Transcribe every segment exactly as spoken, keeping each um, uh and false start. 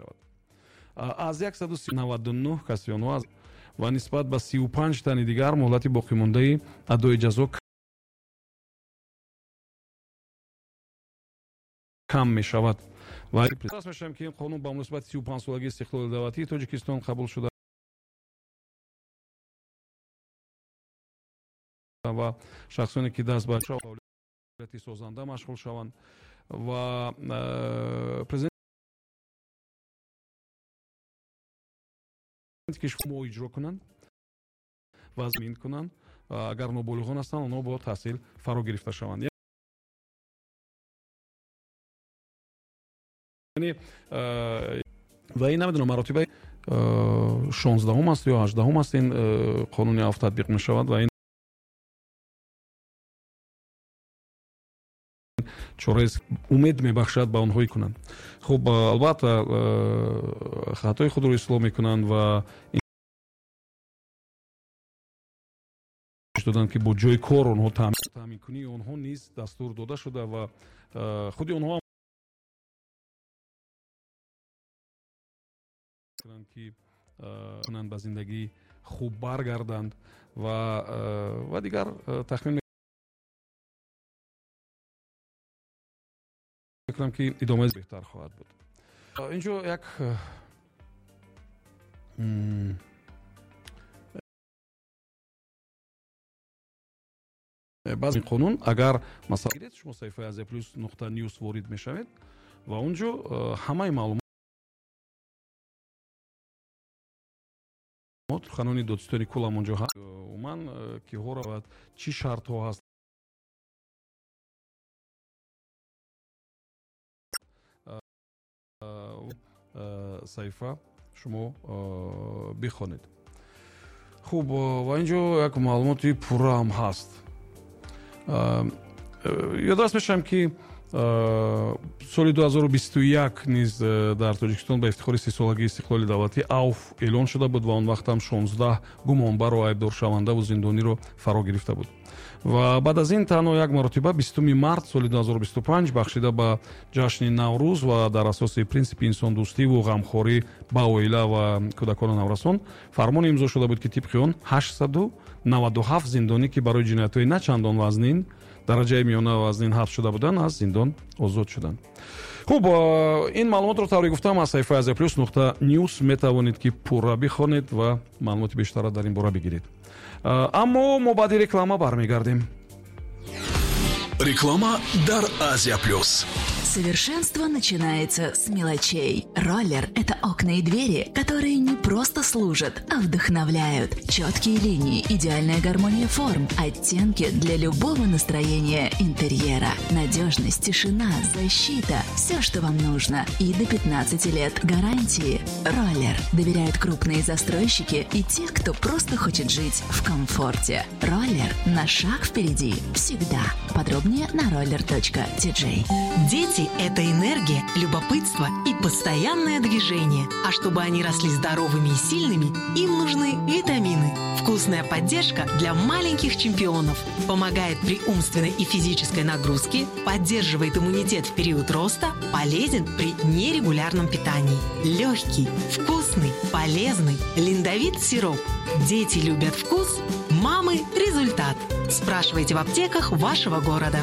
Мешавад аз яксаду наваду нӯҳ каси онҳо ва нисбат ба сию панҷ тани дигар муҳлати боқимондаи адои ҷазо кам мешавад. Ва мешавем, ки ин қонун ба муносибати сию панҷсолагии истиқлоли давлатии Тоҷикистон қабул шуда ва шахсоне ки даст ба фаъолияти созанда машғул шаванд ва президент кишвар иҷро кунанд ва замин кунанд, агар ноболиғон ҳастанд, онҳо бо таҳсил фаро гирифта шаванд. Яъне ва ин намедонам маротиба шонздаҳум аст ё ҳаждаҳум аст, ин қонуни афв татбиқ мешавад ва ин чораест умед мебахшад ба онҳое кунанд. Хуб, албатта хатои худро ислоҳ мекунанд ва доданд, ки бо ҷои кор онҳо таъминкунии онҳо низ дастур дода шуда ва худи онҳо ки кунанд ба зиндагии хуб баргарданд ва ва дигар тахмин мекунам, ки идомаи беҳтар хоҳад буд. Инҷо як баъзе қонун, агар масалан гиред, шумо саҳифаи Азия Плюс нуқта ньюс ворид мешавед ва онҷо ҳамаи маълумот суханони додситони кулам онҷо ҳаст, умуман киҳоро ва чӣ шартҳо ҳаст, саҳифа шумо бихонед. Хуб, ва инҷо як маълумоти пурраам ҳаст. Ёдрас мешавам, ки соли ду ҳазору бисту як низ дар Тоҷикистон ба ифтихори сисолагии истиқлоли давлатӣ авф эълон шуда буд ва он вақт ҳам шонздаҳ гумонбару айбдоршавандаву зиндониро фаро гирифта буд. Ва баъд аз ин танҳо як маротиба бистуми март соли ду ҳазору бисту панҷ бахшида ба ҷашни Наврӯз ва дар асоси принсипи инсондӯстиву ғамхорӣ ба оила ва кӯдакону наврасон фармон имзо шуда буд, ки тибқи он ҳаштсаду наваду ҳафт зиндонӣ, ки барои ҷиноятҳои на чандон вазнин, дараҷаи миёна вазнин ҳабс шуда буданд, аз зиндон озод шуданд. Хуб, ин маълумотро тавре гуфтам аз саҳифаи Азия Плюс нуқта ньюс метавонед, ки пурра бихонед ва маълумоти бештарро дар ин бора бигиред. Аммо мо баъди реклама бармегардем. Реклама дар Азия Плюс. Совершенство начинается с мелочей. Роллер – это окна и двери, которые не просто служат, а вдохновляют. Четкие линии, идеальная гармония форм, оттенки для любого настроения интерьера. Надежность, тишина, защита – все, что вам нужно. И до пятнадцати лет гарантии. Роллер доверяют крупные застройщики и те, кто просто хочет жить в комфорте. Роллер на шаг впереди всегда. Подробнее на роллер точка ти джей. Дети – это энергия, любопытство и постоянное движение. А чтобы они росли здоровыми и сильными, им нужны витамины. Вкусная поддержка для маленьких чемпионов. Помогает при умственной и физической нагрузке, поддерживает иммунитет в период роста, полезен при нерегулярном питании. Легкий, вкусный, полезный Линдовит сироп. Дети любят вкус, мамы – результат. Спрашивайте в аптеках вашего города.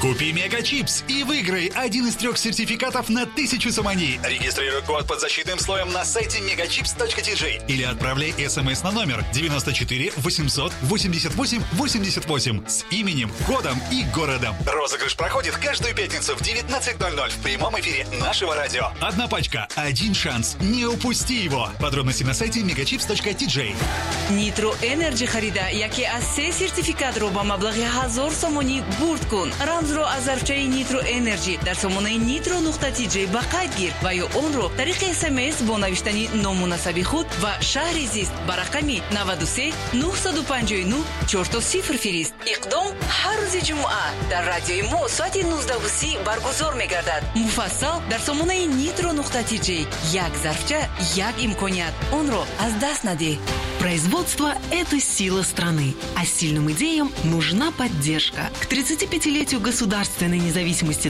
Купи Мегачипс и выиграй один из трех сертификатов на тысячу сомони. Регистрируй код под защитным слоем на сайте мегачипс точка ти джей или отправляй смс на номер девяносто четыре восемьсот восемьдесят восемь восемьдесят восемь с именем, кодом и городом. Розыгрыш проходит каждую пятницу в девятнадцать ноль ноль в прямом эфире нашего радио. Одна пачка, один шанс. Не упусти его. Подробности на сайте мегачипс точка ти джей. Нитро Энерджи харида яке аз се сертификатро ба маблағи ҳазор сомонӣ бурд кун. Рамзро аз зарфчаи Нитро Энерджи дар сомонаи нитро нуқта ти джей ба қайд гир ва ё онро тариқи СМС бо навиштани ному насаби худ ва шаҳри зист ба рақами наваду се нуҳсаду панҷоҳу нуҳ чорто сифр фирист. Иқдом ҳар рӯзи ҷумъа дар радиои мо соати нуздаҳу си баргузор мегардад. Муфассал дар сомонаи нитро нуқта ти джей. Як зарфча, як имконият. Онро аз даст надеҳ. Производство – это сила страны, а сильным идеям нужна поддержка. К тридцатипятилетию государственной независимости